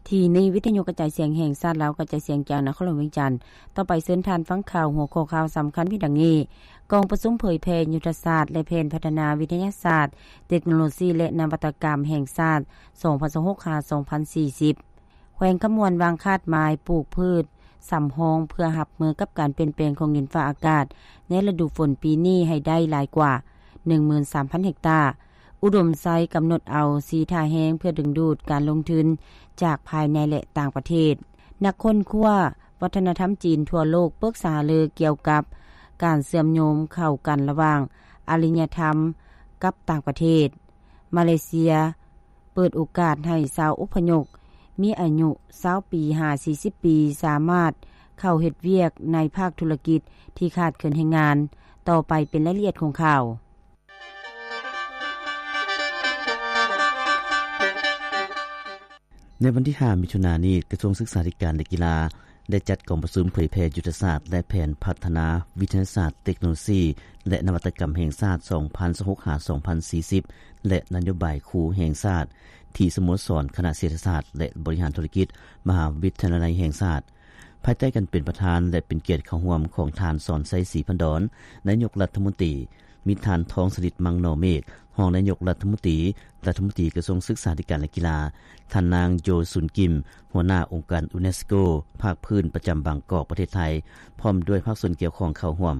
ທີ່ນີ້ ວິທະຍຸກະຈາຍສຽງແຫ່ງຊາດລາວ ກະຈາຍສຽງຈາກນະຄອນຫຼວງວຽງຈັນ. ຕໍ່ໄປເຊີນທ່ານຟັງຂ່າວ ຫົວຂໍ້ຂ່າວສຳຄັນມີດັ່ງນີ້: ກອງປະຊຸມເຜີຍແຜ່ຍຸດທະສາດ ແລະ ແຜນພັດທະນາວິທະຍາສາດ, ເຕັກໂນໂລຊີ ແລະ ນະວັດຕະກຳແຫ່ງຊາດ ສອງພັນຊາວຫົກ ຫາ ສອງພັນສີ່ສິບ. ແຂວງຄຳມ່ວນວາງຄາດໝາຍປູກພືດສຳຮອງ ເພື່ອຮັບມືກັບການປ່ຽນແປງຂອງດິນຟ້າອາກາດ ໃນລະດູຝົນປີນີ້ໃຫ້ໄດ້ຫຼາຍກວ່າ ໜຶ່ງໝື່ນສາມພັນເຮັກຕາ. ອຸດົມໄຊກຳນົດເອົາສີ່ທ່າແຮງ ເພື່ອດຶງດູດການລົງທຶນຈາກພາຍໃນ ແລະ ຕ່າງປະເທດ. ນັກຄົ້ນຄວ້າວັດທະນະທຳຈີນທົ່ວໂລກປຶກສາຫາລືກ່ຽວກັບການເຊື່ອມໂຍງເຂົ້າກັນລະຫວ່າງອາລິຍະທຳກັບຕ່າງປະເທດ. ມາເລເຊຍ ເປີດໂອກາດໃຫ້ຊາວອົບພະຍົບມີອາຍຸຊາວປີຫາສີ່ສິບປີ ສາມາດເຂົ້າເຮັດວຽກໃນພາກທຸລະກິດທີ່ຂາດເຂີນແຮງງານ. ຕໍ່ໄປເປັນລາຍລະອຽດຂອງຂ່າວ. ໃນວັນທີຫ້າ ມິຖຸນານີ້, ກະຊວງສຶກສາທິການ ແລະ ກິລາ ໄດ້ຈັດກອງປະຊຸມເຜີຍແຜ່ຍຸດທະສາດ ແລະ ແຜນພັດທະນາວິທະຍາສາດ, ເຕັກໂນໂລຊີ ແລະ ນະວັດຕະກຳແຫ່ງຊາດ ສອງພັນຊາວຫົກ ຫາ ສອງພັນສີ່ສິບ ແລະ ນະໂຍບາຍຄູແຫ່ງຊາດ ທີ່ສະໂມສອນຄະນະເສດຖະສາດ ແລະ ບໍລິຫານທຸລະກິດ ມະຫາວິທະຍາໄລແຫ່ງຊາດ ພາຍໃຕ້ການເປັນປະທານ ແລະ ເປັນກຽດເຂົ້າຮ່ວມຂອງທ່ານ ສອນໄຊ ສີພັນດອນ ນາຍົກລັດຖະມົນຕີ, ມີທ່ານ ທອງສະລິດ ມັງນໍເມກ ຮອງນາຍົກລັດຖະມົນຕີ, ລັດຖະມົນຕີກະຊວງສຶກສາທິການ ແລະ ກິລາ, ທ່ານນາງ ໂຢຊຸນ ກິມ ຫົວໜ້າອົງການຢູເນສໂກພາກພື້ນປະຈຳບາງກອກ ປະເທດໄທ ພ້ອມດ້ວຍພາກສ່ວນກ່ຽວຂ້ອງເຂົ້າຮ່ວມ.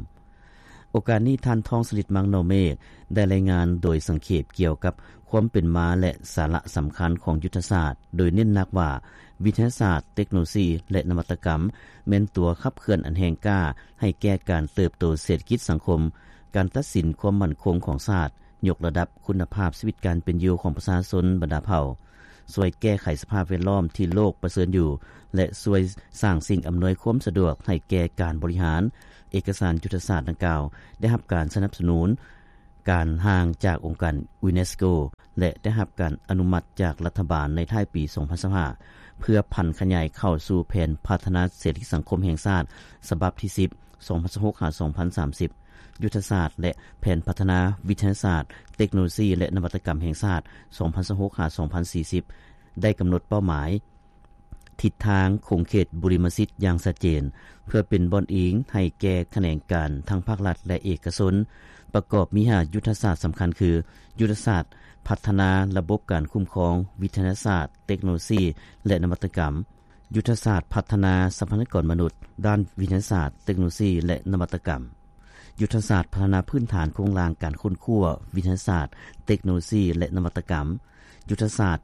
ໂອກາດນີ້ ທ່ານ ທອງສະລິດ ມັງນໍເມກ ໄດ້ລາຍງານໂດຍສັງເຂບກ່ຽວກັບຄວາມເປັນມາ ແລະ ສາລະສຳຄັນຂອງຍຸດທະສາດ, ໂດຍເນັ້ນໜັກວ່າ ວິທະຍາສາດ, ເຕັກໂນໂລຊີ ແລະ ນະວັດຕະກຳ ແມ່ນຕົວຂັບເຄື່ອນອັນແຮງກ້າໃຫ້ແກ່ການເຕີບໂຕເສດຖະກິດສັງຄົມ, ການຕັດສິນຄວາມໝັ້ນຄົງຂອງຊາດ, ຍົກລະດັບຄຸນນະພາບຊີວິດການເປັນຢູ່ຂອງປະຊາຊົນບັນດາເຜົ່າ, ຊ່ວຍແກ້ໄຂສະພາບແວດລ້ອມທີ່ໂລກປະເຊີນຢູ່ ແລະ ຊ່ວຍສ້າງສິ່ງອຳນວຍຄວາມສະດວກໃຫ້ແກ່ການບໍລິຫານ. ເອກະສານຍຸດທະສາດດັ່ງກ່າວໄດ້ຮັບການສະໜັບສະໜູນການຮ່າງຈາກອົງການຢູເນສໂກ ແລະ ໄດ້ຮັບການອະນຸມັດຈາກລັດຖະບານໃນທ້າຍປີສອງພັນຊາວຫ້າ ເພື່ອຜັນຂະຫຍາຍເຂົ້າສູ່ແຜນພັດທະນາເສດຖະກິດສັງຄົມແຫ່ງຊາດ ສະບັບທີສິບ ສອງພັນຊາວຫົກ ຫາ ສອງພັນສາມສິບ. ຍຸດທະສາດ ແລະ ແຜນພັດທະນາວິທະຍາສາດ, ເຕັກໂນໂລຊີ ແລະ ນະວັດຕະກຳແຫ່ງຊາດ ສອງພັນຊາວຫົກ ຫາ ສອງພັນສີ່ສິບ ໄດ້ກຳນົດເປົ້າໝາຍ ທິດທາງ, ຂົງເຂດບຸລິມະສິດຢ່າງຊັດເຈນ ເພື່ອເປັນບ່ອນອີງໃຫ້ແກ່ຂະແໜງການທັງພາກລັດ ແລະ ເອກະຊົນ. ປະກອບມີຫ້າຍຸດທະສາດສຳຄັນຄື ຍຸດທະສາດພັດທະນາລະບົບການຄຸ້ມຄອງ, ວິທະຍາສາດ, ເຕັກໂນໂລຊີ ແລະ ນະວັດຕະກຳ, ຍຸດທະສາດພັດທະນາຊັບພະຍາກອນມະນຸດດ້ານວິທະຍາສາດ, ເຕັກໂນໂລຊີ ແລະ ນະວັດຕະກຳ, ຍຸດທະສາດພັດທະນາພື້ນຖານໂຄງລ່າງການຄົ້ນຄວ້າ, ວິທະຍາສາດ, ເຕັກໂນໂລຊີ ແລະ ນະວັດຕະກຳ, ຍຸດທະສາດ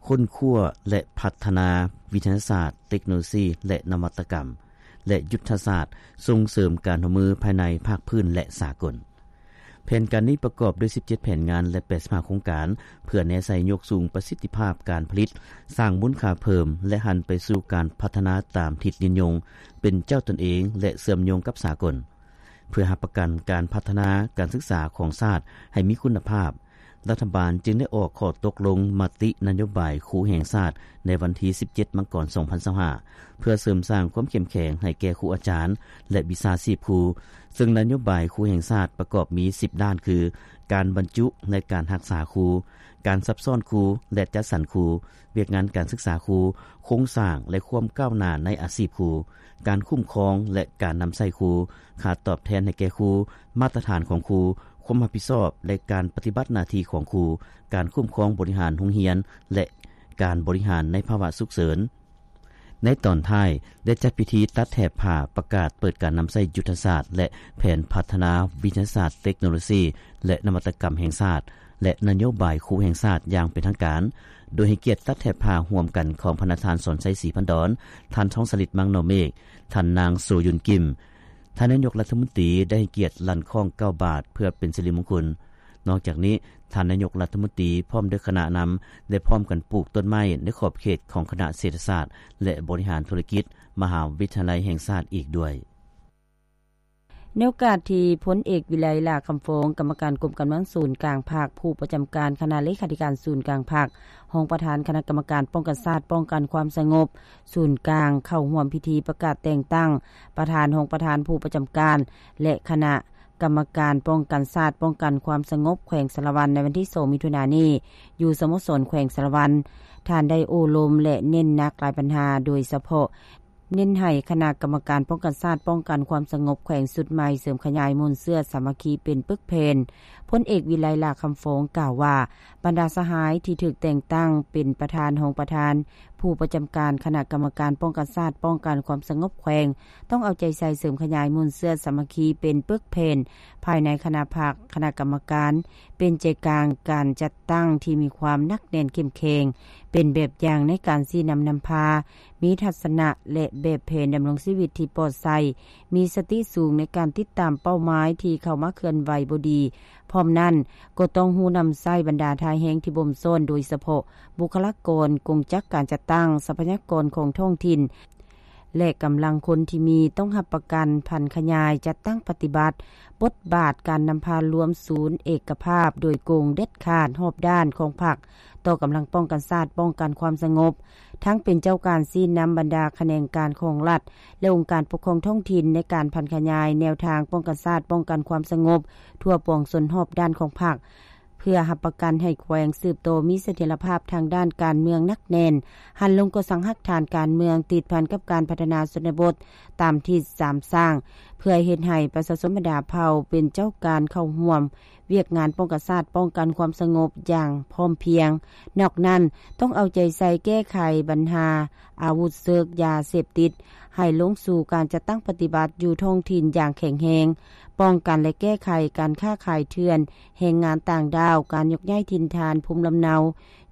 ຄົ້ນຄວ້າ ແລະ ພັດທະນາວິທະຍາສາດ, ເຕັກໂນໂລຊີ ແລະ ນະວັດຕະກຳ ແລະ ຍຸດທະສາດສົ່ງເສີມການຮ່ວມມືພາຍໃນ, ພາກພື້ນ ແລະ ສາກົນ. ແຜນການນີ້ປະກອບດ້ວຍສິບເຈັດແຜນງານ ແລະ ແປດສິບຫ້າໂຄງການ ເພື່ອແນໃສ່ຍົກສູງປະສິດທິພາບການຜະລິດ, ສ້າງມູນຄ່າເພີ່ມ ແລະ ຫັນໄປສູ່ການພັດທະນາຕາມທິດຍືນຍົງ, ເປັນເຈົ້າຕົນເອງ ແລະ ເຊື່ອມໂຍງກັບສາກົນ. ເພື່ອຮັບປະກັນການພັດທະນາການສຶກສາຂອງຊາດໃຫ້ມີຄຸນນະພາບ, ລັດຖະບານຈຶ່ງໄດ້ອອກຂໍ້ຕົກລົງມະຕິນະໂຍບາຍຄູແຫ່ງຊາດໃນວັນທີສິບເຈັດ ມັງກອນ ສອງພັນຊາວຫ້າ ເພື່ອເສີມສ້າງຄວາມເຂັ້ມແຂງໃຫ້ແກ່ຄູອາຈານ ແລະ ວິຊາຊີບຄູ, ເຊິ່ງນະໂຍບາຍຄູແຫ່ງຊາດປະກອບມີສິບດ້ານຄື ການບັນຈຸ ແລະ ການຮັກສາຄູ, ການຊັບຊ້ອນຄູ ແລະ ຈັດສັນຄູ, ວຽກງານການສຶກສາຄູ, ໂຄງສ້າງ ແລະ ຄວາມກ້າວໜ້າໃນອາຊີບຄູ, ການຄຸ້ມຄອງ ແລະ ການນຳໃຊ້ຄູ, ຄ່າຕອບແທນໃຫ້ແກ່ຄູ, ມາດຕະຖານຂອງຄູ, ຄວາມຮັບຜິດຊອບ ແລະ ການປະຕິບັດໜ້າທີ່ຂອງຄູ, ການຄຸ້ມຄອງບໍລິຫານໂຮງຮຽນ ແລະ ການບໍລິຫານໃນພາວະສຸກເສີນ. ໃນຕອນທ້າຍ ໄດ້ຈັດພິທີຕັດແຖບຜ້າປະກາດເປີດການນຳໃຊ້ຍຸດທະສາດ ແລະ ແຜນພັດທະນາວິທະຍາສາດ, ເຕັກໂນໂລຊີ ແລະ ນະວັດຕະກຳແຫ່ງຊາດ ແລະ ນະໂຍບາຍຄູແຫ່ງຊາດຢ່າງເປັນທາງການ, ໂດຍໃຫ້ກຽດຕັດແຖບຜ້າຮ່ວມກັນຂອງພະນະທ່ານ ສອນໄຊ ສີພັນດອນ, ທ່ານ ທອງສະລິດ ມັງນໍເມກ, ທ່ານນາງ ໂຊຍຸນ ກິມ, ທ່ານນາຍົກລັດຖະມົນຕີໄດ້ໃຫ້ກຽດລັ່ນຄ້ອງເກົ້າບາດເພື່ອເປັນສິລິມົງຄຸນ. ນອກຈາກນີ້, ທ່ານນາຍົກລັດຖະມົນຕີພ້ອມດ້ວຍຄະນະນຳ ໄດ້ພ້ອມກັນປູກຕົ້ນໄມ້ໃນຂອບເຂດຂອງຄະນະເສດຖະສາດ ແລະ ບໍລິຫານທຸລະກິດ ມະຫາວິທະຍາໄລແຫ່ງຊາດອີກດ້ວຍ. ໃນໂອກາດທີ່ ພົນເອກ ວິໄລ ຫຼ້າຄຳຟອງ ກຳມະການກົມການເມືອງສູນກາງພັກ, ຜູ້ປະຈຳການຄະນະເລຂາທິການສູນກາງພັກ, ຮອງປະທານຄະນະກຳມະການປ້ອງກັນຊາດ, ປ້ອງກັນຄວາມສະຫງົບສູນກາງ ເຂົ້າຮ່ວມພິທີປະກາດແຕ່ງຕັ້ງປະທານ, ຮອງປະທານ, ຜູ້ປະຈຳການ ແລະ ຄະນະກຳມະການປ້ອງກັນຊາດ, ປ້ອງກັນຄວາມສະຫງົບແຂວງສາລະວັນ ໃນວັນທີສອງ ມິຖຸນານີ້ ຢູ່ສະໂມສອນແຂວງສາລະວັນ. ທ່ານໄດ້ໂອ້ລົມ ແລະ ເນັ້ນໜັກຫຼາຍບັນຫາ, ໂດຍສະເພາະເນັ້ນໃຫ້ຄະນະກຳມະການປ້ອງກັນຊາດ ປ້ອງກັນຄວາມສະຫງົບແຂວງຊຸດໃໝ່ ເສີມຂະຫຍາຍມູນເຊື້ອສາມັກຄີເປັນປຶກແຜ່ນ. ພົນເອກ ວິໄລ ຫຼ້າຄຳຟອງ ກ່າວວ່າ ບັນດາສະຫາຍທີ່ຖືກແຕ່ງຕັ້ງເປັນປະທານ, ຮອງປະທານ, ຜູ້ປະຈຳການຄະນະກຳມະການປ້ອງກັນຊາດ ປ້ອງກັນຄວາມສະຫງົບແຂວງ ຕ້ອງເອົາໃຈໃສ່ເສີມຂະຫຍາຍມູນເຊື້ອສາມັກຄີເປັນປຶກແຜ່ນ ພາຍໃນຄະນະພັກ, ຄະນະກຳມະການ ເປັນໃຈກາງການຈັດຕັ້ງທີ່ມີຄວາມໜັກແໜ້ນເຂັ້ມແຂງ, ເປັນແບບຢ່າງໃນການຊີ້ນຳນຳພາ, ມີທັດສະນະ ແລະ ແບບແຜນດຳລົງຊີວິດທີ່ປອດໃສ, ມີສະຕິສູງໃນການຕິດຕາມເປົ້າໝາຍທີ່ເຂົ້າມາເຄື່ອນໄຫວບໍ່ດີ. ພ້ອມນັ້ນ, ກໍຕ້ອງຮູ້ນຳໃຊ້ບັນດາທ່າແຮງທີ່ບົ່ມຊ້ອນ, ໂດຍສະເພາະບຸກຄະລາກອນ, ກົງຈັກການຈັດຕັ້ງ, ຊັບພະຍາກອນຂອງທ້ອງຖິ່ນ ແລະ ກຳລັງຄົນທີ່ມີ ຕ້ອງຮັບປະກັນຜັນຂະຫຍາຍ, ຈັດຕັ້ງປະຕິບັດບົດບາດການນຳພາລວມສູນເອກະພາບໂດຍກົງ, ເດັດຂາດ, ຮອບດ້ານຂອງພັກຕໍ່ກຳລັງປ້ອງກັນຊາດ, ປ້ອງກັນຄວາມສະຫງົບ, ທັງເປັນເຈົ້າການຊີ້ນຳບັນດາຂະແໜງການຂອງລັດ ແລະ ອົງການປົກຄອງທ້ອງຖິ່ນໃນການຜັນຂະຫຍາຍແນວທາງປ້ອງກັນຊາດ, ປ້ອງກັນຄວາມສະຫງົບທົ່ວປວງຊົນຮອບດ້ານຂອງພັກ. ເພື່ອຮັບປະກັນໃຫ້ແຂວງສືບຕໍ່ມີສະຖຽນລະພາບທາງດ້ານການເມືອງໜັກແໜ້ນ, ຫັນລົງກໍ່ສ້າງຮາກຖານການເມືອງຕິດພັນກັບການພັດທະນາຊົນນະບົດຕາມທິດສາມສ້າງ, ເພື່ອເຮັດໃຫ້ປະຊາຊົນບັນດາເຜົ່າເປັນເຈົ້າການເຂົ້າຮ່ວມວຽກງານປ້ອງກັນຊາດ, ປ້ອງກັນຄວາມສະຫງົບຢ່າງພ້ອມພຽງ. ນອກນັ້ນ, ຕ້ອງເອົາໃຈໃສ່ແກ້ໄຂບັນຫາອາວຸດເສິກ, ຢາເສບຕິດ, ໃຫ້ລົງສູ່ການຈັດຕັ້ງປະຕິບັດຢູ່ທ້ອງຖິ່ນຢ່າງແຂງແຮງ, ປ້ອງກັນ ແລະ ແກ້ໄຂການຄ້າຂາຍເຖື່ອນ, ແຮງງານຕ່າງດ້າວ, ການຍົກຍ້າຍຖິ່ນຖານພູມລຳເນົາ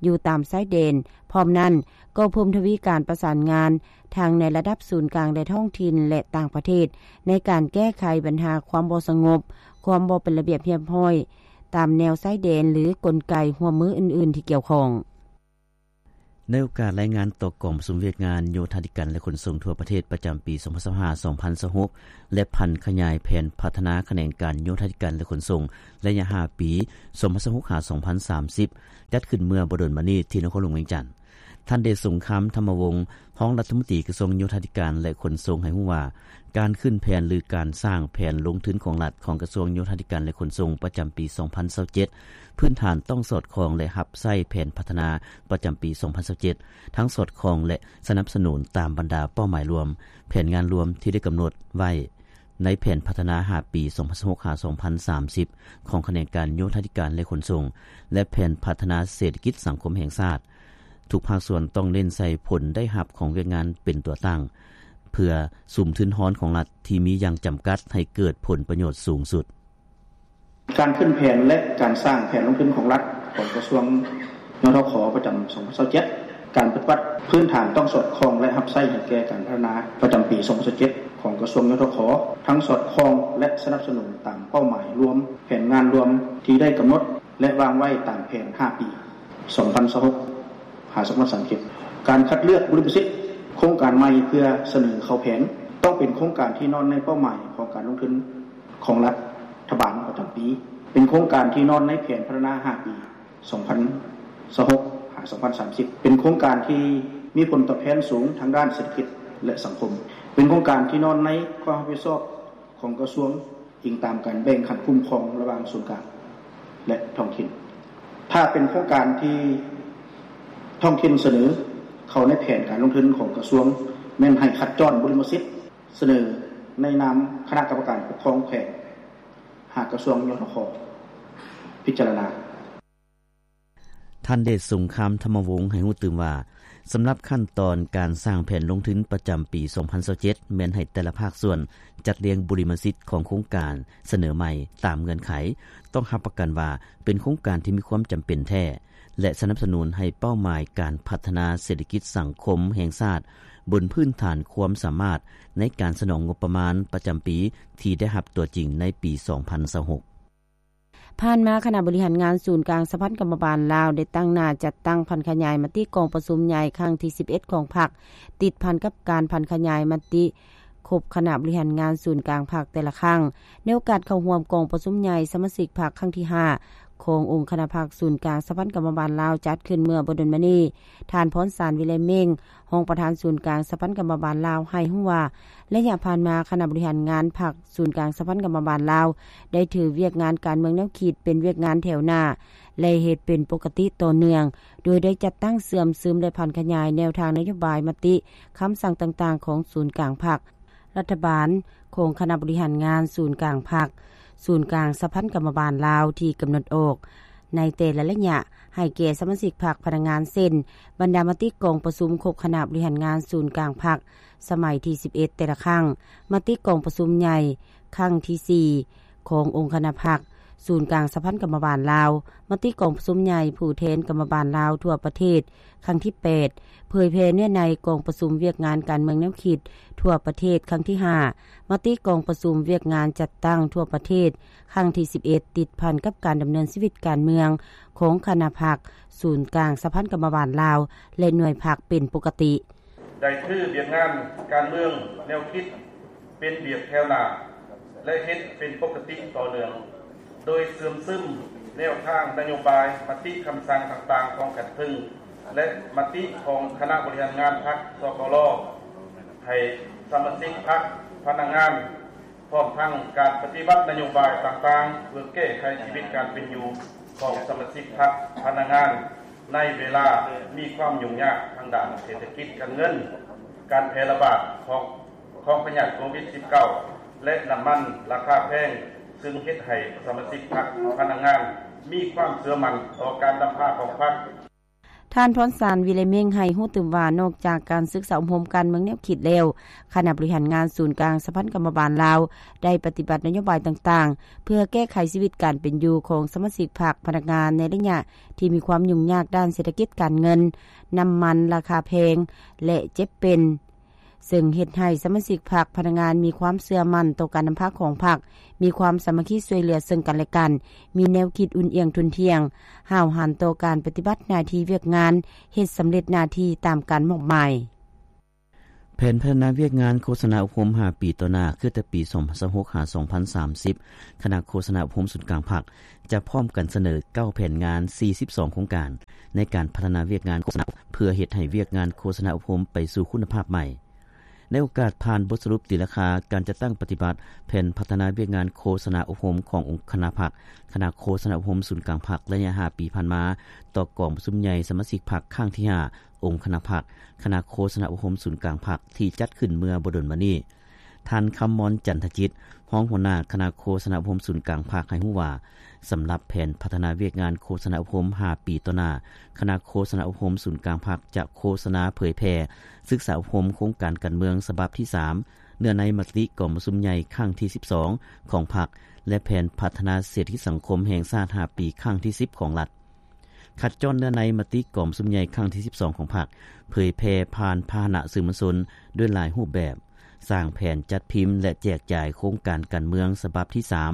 ຢູ່ຕາມຊາຍແດນ. ພ້ອມນັ້ນ, ກໍເພີ່ມທະວີການປະສານງານ ທັງໃນລະດັບສູນກາງ ແລະ ທ້ອງຖິ່ນ ແລະ ຕ່າງປະເທດ ໃນການແກ້ໄຂບັນຫາຄວາມບໍ່ສະຫງົບ, ຄວາມບໍ່ເປັນລະບຽບຮຽບຮ້ອຍຕາມແນວຊາຍແດນ ຫຼື ກົນໄກຮ່ວມມືອື່ນໆທີ່ກ່ຽວຂ້ອງ. ໃນໂອກາດລາຍງານຕໍ່ກອງປະຊຸມວຽກງານໂຍທາທິການ ແລະ ຂົນສົ່ງທົ່ວປະເທດປະຈຳປີສອງພັນຊາວຫ້າ ສອງພັນຊາວຫົກ ແລະ ຜັນຂະຫຍາຍແຜນພັດທະນາຂະແໜງການໂຍທາທິການ ແລະ ຂົນສົ່ງໄລຍະຫ້າປີ ສອງພັນຊາວຫົກ ຫາ ສອງພັນສາມສິບ ຈັດຂຶ້ນເມື່ອບໍ່ດົນມານີ້ທີ່ນະຄອນຫຼວງວຽງຈັນ. ທ່ານ ເດດສົງຄາມ ທຳມະວົງ ຮອງລັດຖະມົນຕີກະຊວງໂຍທາທິການ ແລະ ຂົນສົ່ງ ໃຫ້ຮູ້ວ່າ ການຂຶ້ນແຜນ ຫຼື ການສ້າງແຜນລົງທຶນຂອງລັດຂອງກະຊວງໂຍທາທິການ ແລະ ຂົນສົ່ງ ປະຈຳປີສອງພັນຊາວເຈັດ ພື້ນຖານຕ້ອງສອດຄ່ອງ ແລະ ຮັບໃຊ້ແຜນພັດທະນາປະຈຳປີສອງພັນຊາວເຈັດ ທັງສອດຄ່ອງ ແລະ ສະໜັບສະໜູນຕາມບັນດາເປົ້າໝາຍລວມ, ແຜນງານລວມທີ່ໄດ້ກຳນົດໄວ້ໃນແຜນພັດທະນາຫ້າປີ ສອງພັນຊາວຫົກ ຫາ ສອງພັນສາມສິບ ຂອງຂະແໜງການໂຍທາທິການ ແລະ ຂົນສົ່ງ ແລະ ແຜນພັດທະນາເສດຖະກິດສັງຄົມແຫ່ງຊາດ. ທຸກພາກສ່ວນຕ້ອງເນັ້ນໃສ່ຜົນໄດ້ຮັບຂອງວຽກງານເປັນຕົວຕັ້ງ ເພື່ອສຸມທຶນຮອນຂອງລັດທີ່ມີຢ່າງຈຳກັດໃຫ້ເກີດຜົນປະໂຫຍດສູງສຸດ. ການຂຶ້ນແຜນ ແລະ ການສ້າງແຜນລົງທຶນຂອງລັດຂອງກະຊວງ ຍທຂ ປະຈຳສອງພັນຊາວເຈັດ ການປະຕິບັດພື້ນຖານຕ້ອງສອດຄ່ອງ ແລະ ຮັບໃຊ້ໃຫ້ແກ່ການພັດທະນາປະຈຳປີສອງພັນຊາວເຈັດ ຂອງກະຊວງ ຍທຂ ທັງສອດຄ່ອງ ແລະ ສະໜັບສະໜູນຕາມເປົ້າໝາຍລວມ, ແຜນງານລວມທີ່ໄດ້ກຳນົດ ແລະ ວາງໄວ້ຕາມແຜນຫ້າປີ ສອງພັນຊາວຫົກ ຫາ ສອງພັນສາມສິບ. ການຄັດເລືອກບຸລິມະສິດໂຄງການໃໝ່ເພື່ອສະເໜີເຂົ້າແຜນ ຕ້ອງເປັນໂຄງການທີ່ນອນໃນເປົ້າໝາຍຂອງການລົງທຶນຂອງລັດຖະບານປະຈຳປີ, ເປັນໂຄງການທີ່ນອນໃນແຜນພັດທະນາຫ້າປີ ສອງພັນຊາວຫົກ ຫາ ສອງພັນສາມສິບ, ເປັນໂຄງການທີ່ມີຜົນຕອບແທນສູງທາງດ້ານເສດຖະກິດ ແລະ ສັງຄົມ, ເປັນໂຄງການທີ່ນອນໃນຄວາມຮັບຜິດຊອບຂອງກະຊວງ ອີງຕາມການແບ່ງຂັ້ນຄຸ້ມຄອງລະຫວ່າງສູນກາງ ແລະ ທ້ອງຖິ່ນ. ຖ້າເປັນໂຄງການທີ່ທ້ອງຖິ່ນສະເໜີເຂົ້າໃນແຜນການລົງທຶນຂອງກະຊວງ, ແມ່ນໃຫ້ຄັດຈ້ອນບຸລິມະສິດສະເໜີໃນນາມຄະນະກຳມະການປົກຄອງແຂວງ ຫາກະຊວງ ຍທຂ ພິຈາລະນາ. ທ່ານ ເດດສົງຄາມ ທຳມະວົງ ໃຫ້ຮູ້ຕື່ມວ່າ, ສຳລັບຂັ້ນຕອນການສ້າງແຜນລົງທຶນປະຈຳປີສອງພັນຊາວເຈັດ ແມ່ນໃຫ້ແຕ່ລະພາກສ່ວນຈັດລຽງບຸລິມະສິດຂອງໂຄງການສະເໜີໃໝ່ຕາມເງື່ອນໄຂ, ຕ້ອງຮັບປະກັນວ່າເປັນໂຄງການທີ່ມີຄວາມຈຳເປັນແທ້ ແລະ ສະໜັບສະໜູນໃຫ້ເປົ້າໝາຍການພັດທະນາເສດຖະກິດສັງຄົມແຫ່ງຊາດ ບົນພື້ນຖານຄວາມສາມາດໃນການສະໜອງງົບປະມານປະຈຳປີທີ່ໄດ້ຮັບຕົວຈິງໃນປີສອງພັນຊາວຫົກ. ຜ່ານມາ, ຄະນະບໍລິຫານງານສູນກາງສະຫະພັນກຳມະບານລາວ ໄດ້ຕັ້ງໜ້າຈັດຕັ້ງຜັນຂະຫຍາຍມະຕິກອງປະຊຸມໃຫຍ່ຄັ້ງທີສິບເອັດຂອງພັກ, ຕິດພັນກັບການຜັນຂະຫຍາຍມະຕິຄົບຄະນະບໍລິຫານງານສູນກາງພັກແຕ່ລະຄັ້ງ. ໃນໂອກາດເຂົ້າຮ່ວມກອງປະຊຸມໃຫຍ່ສະມາຊິກພັກຄັ້ງທີຫ້າ ຂອງອົງຄະນະພັກສູນກາງສະຫະພັນກຳມະບານລາວ ຈັດຂຶ້ນເມື່ອບໍ່ດົນມານີ້, ທ່ານ ພອນສານ ວິໄລເມັງ ຮອງປະທານສູນກາງສະຫະພັນກຳມະບານລາວ ໃຫ້ຮູ້ວ່າ ໄລຍະຜ່ານມາ ຄະນະບໍລິຫານງານພັກ ສູນກາງສະຫະພັນກຳມະບານລາວ ໄດ້ຖືວຽກງານການເມືອງແນວຄິດເປັນວຽກງານແຖວໜ້າ, ແລະ ເຮັດເປັນປົກກະຕິຕໍ່ເນື່ອງ, ໂດຍໄດ້ຈັດຕັ້ງເຊື່ອມຊຶມ ແລະ ຜັນຂະຫຍາຍແນວທາງນະໂຍບາຍ, ມະຕິ, ຄຳສັ່ງຕ່າງໆຂອງສູນກາງພັກ, ລັດຖະບານ, ຂອງຄະນະບໍລິຫານງານສູນກາງພັກ, ສູນກາງສະຫະພັນກຳມະບານລາວທີ່ກຳນົດອອກໃນແຕ່ລະໄລຍະ ໃຫ້ແກ່ສະມາຊິກພັກ, ພະນັກງານ ເຊັ່ນ ບັນດາມະຕິກອງປະຊຸມຄົບຄະນະບໍລິຫານງານສູນກາງພັກ ສະໄໝທີສິບເອັດ ແຕ່ລະຄັ້ງ, ມະຕິກອງປະຊຸມໃຫຍ່ຄັ້ງທີສີ່ ຂອງອົງຄະນະພັກ, ສູນກາງສະຫະພັນກຳມະບານລາວ, ມະຕິກອງປະຊຸມໃຫຍ່ຜູ້ແທນກຳມະບານລາວທົ່ວປະເທດຄັ້ງທີແປດ, ເຜີຍແຜ່ເນື້ອໃນກອງປະຊຸມວຽກງານການເມືອງແນວຄິດທົ່ວປະເທດຄັ້ງທີຫ້າ, ມະຕິກອງປະຊຸມວຽກງານຈັດຕັ້ງທົ່ວປະເທດຄັ້ງທີສິບເອັດ ຕິດພັນກັບການດຳເນີນຊີວິດການເມືອງຂອງຄະນະພັກ, ສູນກາງສະຫະພັນກຳມະບານລາວ ແລະ ໜ່ວຍພັກເປັນປົກກະຕິ. ໄດ້ຖືວຽກງານການເມືອງແນວຄິດເປັນວຽກແຖວໜ້າ ແລະ ເຮັດເປັນປົກກະຕິຕໍ່ເນື່ອງ, ໂດຍເຊື່ອມຊຶມແນວທາງນະໂຍບາຍ, ມະຕິຄຳສັ່ງຕ່າງໆຂອງຂັ້ນເທິງ ແລະ ມະຕິຂອງຄະນະບໍລິຫານງານພັກ ສກລ ໃຫ້ສະມາຊິກພັກ, ພະນັກງານ ພ້ອມທັງການປະຕິບັດນະໂຍບາຍຕ່າງໆ ເພື່ອແກ້ໄຂຊີວິດການເປັນຢູ່ຂອງສະມາຊິກພັກ, ພະນັກງານ ໃນເວລາມີຄວາມຫຍຸ້ງຍາກທາງດ້ານເສດຖະກິດການເງິນ, ການແຜ່ລະບາດຂອງ ຂອງພະຍາດໂຄວິດສິບເກົ້າ ແລະ ນ້ຳມັນລາຄາແພງ, ຊຶ່ງເຮັດໃຫ້ສະມາຊິກພັກ, ພະນັກງານ ມີຄວາມເຊື່ອໝັ້ນຕໍ່ການນຳພາຂອງພັກ. ທ່ານ ພອນສານ ວິໄລເມັງ ໃຫ້ຮູ້ຕື່ມວ່າ ນອກຈາກການສຶກສາອົບຮົມການເມືອງແນວຄິດແລ້ວ, ຄະນະບໍລິຫານງານສູນກາງສະຫະພັນກຳມະບານລາວ ໄດ້ປະຕິບັດນະໂຍບາຍຕ່າງໆ ເພື່ອແກ້ໄຂຊີວິດການເປັນຢູ່ຂອງສະມາຊິກພັກ, ພະນັກງານ ໃນໄລຍະທີ່ມີຄວາມຫຍຸ້ງຍາກດ້ານເສດຖະກິດການເງິນ, ນ້ຳມັນລາຄາແພງ ແລະ ເຈັບເປັນ, ເຊິ່ງເຮັດໃຫ້ສະມາຊິກພັກ, ພະນັກງານ ມີຄວາມເຊື່ອໝັ້ນຕໍ່ການນຳພາຂອງພັກ, ມີຄວາມສາມັກຄີຊ່ວຍເຫຼືອເຊິ່ງກັນແລະກັນ, ມີແນວຄິດອຸ່ນອຽງທຸ່ນທ່ຽງ, ຫ້າວຫັນຕໍ່ການປະຕິບັດໜ້າທີ່ວຽກງານ, ເຮັດສຳເລັດໜ້າທີ່ຕາມການມອບໝາຍ. ແຜນພັດທະນາວຽກງານໂຄສະນາອົບຮົມຫ້າປີຕໍ່ໜ້າ ຄືແຕ່ປີສອງພັນຊາວຫົກ ຫາ ສອງພັນສາມສິບ ຄະນະໂຄສະນາອົບຮົມສູນກາງພັກ ຈະພ້ອມກັນສະເໜີເກົ້າແຜນງານ ສີ່ສິບສອງໂຄງການ ໃນການພັດທະນາວຽກງານໂຄສະນາ ເພື່ອເຮັດໃຫ້ວຽກງານໂຄສະນາອົບຮົມໄປສູ່ຄຸນນະພາບໃໝ່. ໃນໂອກາດຜ່ານບົດສະຫຼຸບຕີລາຄາການຈັດຕັ້ງປະຕິບັດແຜນພັດທະນາວຽກງານໂຄສະນາອົບຮົມຂອງອົງຄະນະພັກ, ຄະນະໂຄສະນາອົບຮົມສູນກາງພັກໄລຍະຫ້າປີຜ່ານມາ ຕໍ່ກອງປະຊຸມໃຫຍ່ສະມາຊິກພັກຄັ້ງທີຫ້າ ອົງຄະນະພັກ, ຄະນະໂຄສະນາອົບຮົມສູນກາງພັກ ທີ່ຈັດຂຶ້ນເມື່ອບໍ່ດົນມານີ້, ທ່ານ ຄຳມອນ ຈັນທະຈິດ ຮອງຫົວໜ້າຄະນະໂຄສະນາອົບຮົມສູນກາງພັກ ໃຫ້ຮູ້ວ່າ, ສຳລັບແຜນພັດທະນາວຽກງານໂຄສະນາອົບຮົມຫ້າປີຕໍ່ໜ້າ, ຄະນະໂຄສະນາອົບຮົມສູນກາງພັກ ຈະໂຄສະນາເຜີຍແຜ່ສຶກສາອົບຮົມໂຄງການການເມືອງສະບັບທີສາມ ເນື້ອໃນມະຕິກອງປະຊຸມໃຫຍ່ຄັ້ງທີສິບສອງຂອງພັກ ແລະ ແຜນພັດທະນາເສດຖະກິດສັງຄົມແຫ່ງຊາດຫ້າປີຄັ້ງທີສິບຂອງລັດ. ຂັດຈ້ອນເນື້ອໃນມະຕິກອງປະຊຸມໃຫຍ່ຄັ້ງທີສິບສອງຂອງພັກ, ເຜີຍແຜ່ຜ່ານພາຫະນະສື່ມວນຊົນດ້ວຍຫຼາຍຮູບແບບ, ສ້າງແຜນຈັດພິມ ແລະ ແຈກຈ່າຍໂຄງການການເມືອງສະບັບທີສາມ,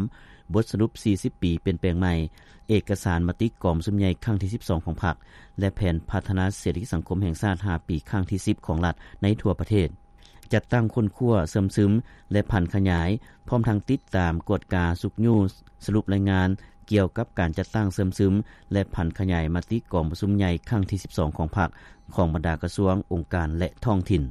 ບົດສະຫຼຸບສີ່ສິບປີປ່ຽນແປງໃໝ່, ເອກະສານມະຕິກອງປະຊຸມໃຫຍ່ຄັ້ງທີສິບສອງຂອງພັກ ແລະ ແຜນພັດທະນາເສດຖະກິດສັງຄົມແຫ່ງຊາດຫ້າປີຄັ້ງທີສິບຂອງລັດໃນທົ່ວປະເທດ. ຈັດຕັ້ງຄົ້ນຄວ້າ, ເຊື່ອມຊຶມ ແລະ ຜັນຂະຫຍາຍ, ພ້ອມທັງຕິດຕາມ, ກວດກາ, ຊຸກຍູ້, ສະຫຼຸບລາຍງານກ່ຽວກັບການຈັດຕັ້ງ, ເຊື່ອມຊຶມ ແລະ ຜັນຂະຫຍາຍມະຕິກອງປະຊຸມໃຫຍ່ຄັ້ງທີສິບສອງຂອງພັກ, ຂອງບັນດາກະຊວງ, ອົງການ ແລະ ທ້ອງຖິ່ນ.